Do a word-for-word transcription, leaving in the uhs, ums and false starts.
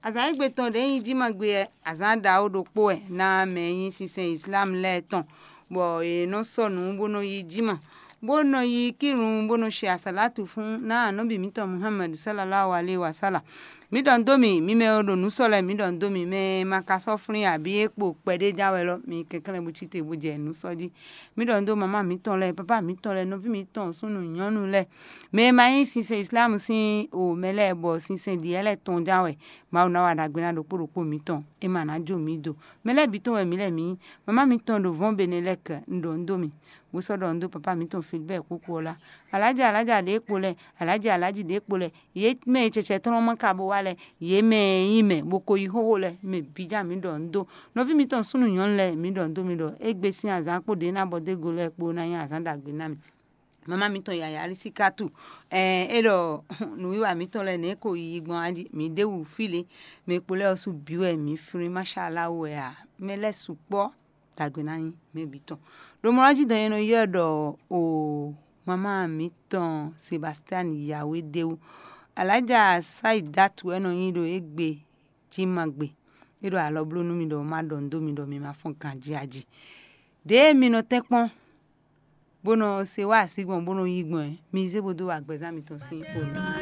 Azǎn e gbe tɔn ɖě nyí jímagbe ɛ, azǎn ɖaxó ɖokpó wɛ ná mɛ e nyí sinsɛn Islam lɛ́ɛ tɔn, bɔ yě nɔ sɔ́ nǔ bó nɔ yí jíma, bó nɔ yí kírun, bó nɔ ṣe asǎlátǔ fún ná anɔ̌bi mǐtɔn Muhammad sallallahu alaihi wasallam. Mǐ ɖɔ nǔ dó mì, mi mɛ e ɖo nǔ sɔ́ lɛ́ɛ, mǐ ɖɔ nǔ dó mì, mɛ e ma ka sɔ́ flín abǐ é kpo kpɛɖé ján wɛ lɔ, mi kɛnklɛ́n bó cí te bó jɛ nǔ sɔ́ jí. Mǐ ɖɔ nǔ dó mamá mǐtɔn lɛ́ɛ, papá mǐtɔn lɛ́ɛ, nɔví mǐtɔn súnnu nyɔ̌nu lɛ́ɛ, mɛ e ma nyí sinsɛn Islam sín o mɛ lɛ́ɛ, bɔ sinsɛn ɖi yɛ́ lɛ́ɛ tɔn ján wɛ. Mawu ná wa ɖagbe ná ɖokpó ɖokpó mǐtɔn, é ma ná jó mǐ do. Mɛ lɛ́ɛ bǐ tɔn wɛ mǐ lɛ́ɛ mǐ nyí. Mamá mǐtɔn ɖo vɔ̌n Benelɛ́k, un ɖɔ nǔ dó mì, bó sɔ́ ɖɔ nǔ dó papá mǐtɔn Filibɛ́ɛ kúkú ɔ́ lá. Alǎjǎ alǎjǎ ɖě kpo lɛ́ɛ, alǎjǎ alǎjǐ ɖě kpo lɛ́ɛ, yě mɛ e cɛcɛ tɔn ma ka bó wá lɛ́ɛ, yě mɛ e nyí mɛ bó ko yí xóxó lɛ́ɛ, mɛ bǐ ján mǐ ɖɔ nǔ dó. Nɔví mǐtɔn súnnu nyɔ̌nu lɛ́ɛ, mǐ ɖɔ nǔ dó mi ɖɔ égbé sín azǎn kpó ɖě ná bɔ dó ego lɛ́ɛ kpó ná nyí azǎn ɖagbe ná mì. Mamá mǐtɔn yǎyá Alisikatu, ɛɛ, é ɖɔ nǔwiwa mǐtɔn lɛ́ɛ nɛ̌ ko yiyi gbɔn a jí, mǐ ɖ'é wú fí lě, mɛ kpo lɛ́ɛ ɔ́ sú bǐ wɛ mǐ flín, máṣáláwu wɛ a, mɛ lɛ́ɛ sukpɔ́ ɖagbe ná nyí mɛ bǐ tɔn. Ɖo mɔ ɔ́ jí dɔn e nɔ ylɔ́ ɖɔ o mamá mǐtɔn Sebastian Yawé ɖ'é wú. Alǎjá Saidatu wɛ nɔ nyí ɖo égbé jí ma gbe. É ɖo alɔ bló nú mi ɖɔ má ɖɔ nǔ dó mi ɖɔ mi ma fɔ́n ganjí a jí. Ɖěe mi nɔ tɛ́nkpɔ́n, bó nɔ se wá así gbɔn, bó nɔ yí gbɔn ɛ, mi zé bó dó wa gbɛzán mitɔn sín xo nú.